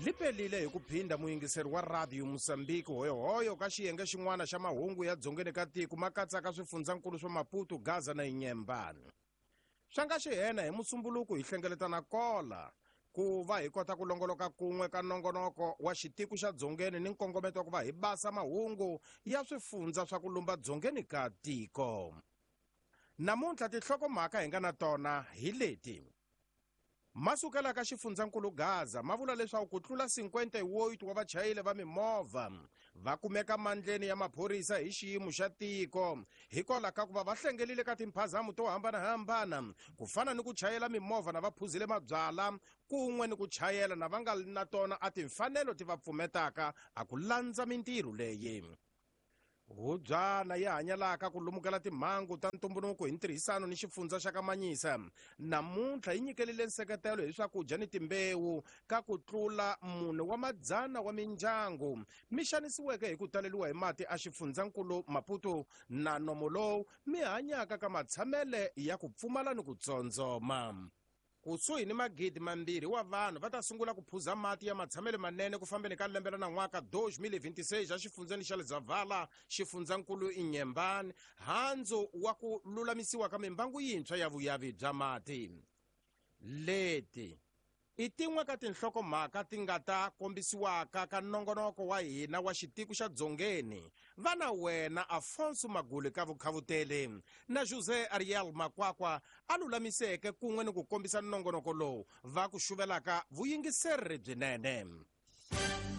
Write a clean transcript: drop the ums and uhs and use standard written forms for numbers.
Li pelile hi ku phinda muyingiseri wa Radio Mozambique hoyohoyo ka xiyenge xin'wana xa mahungu ya dzongeni ka tiko ma katsaka swifundzankulu swa Maputo, Gaza na Inhambane. Swa nga xihena hi Musumbuluku hi hlengeletana kola ku va hi kota ku longoloka kun'we ka nongonoko wa xitiko xa dzongeni ni nkongometo wa ku va hi basa mahungu ya swifundza swa ku lumba dzongeni ka tiko. Namuntlha tinhlokomhaka hi nga na tona hi leti. Ma sukela ka xifundzankulu Gaza ma vula leswaku ku tlula 58 wa vachayeli va mimovha va kumeka mandleni ya maphorisa hi xiyimo xa tiko hikwalaho ka ku va va hlengelile ka timphazamo to hambanahambana ku fana ni ku chayela mimovha na va phuzile mabyala kun'we ni ku chayela na va nga na tona a timfanelo ti va pfumetaka a ku landza mintirho leyi. Hubyana yi hanyalaka ku lumukela timhangu ta ntumbuluko hi ntirhisano ni xifundza xa ka Manyisa namuntlha yi nyikelile nseketelo hi swakudya ni timbewu ka ku tlula mune wa madzana wa mindyangu mi xanisiweke hi ku taleliwa hi mati a xifundzankulu Maputo na nomo lowu mi hanyaka ka matshamele ya ku pfumala ni ku tsondzoma. Kusuhi ni 2,000 wa vanhu va ta sungula ku phuza mati ya matshamelo manene ku fambeni ka lembe ra nan'waka 2026 exifundzeni xa Lezavhala, xifundzankulu Inhambane, handzu wa ku lulamisiwa ka mimbangu yintshwa ya vuyavi bya mati. Leti i tin'we ka tinhlokomhaka ti nga ta kombisiwaka ka nongonoko wa hina wa xitiko xa Dzongeni. Va na wena Afonso Maguli ka vukhavuteli na José Ariel Makwakwa a lulamiseke kun'we ni ku kombisa nongonoko lowu va ku xuvelaka vuyingiseri byinene.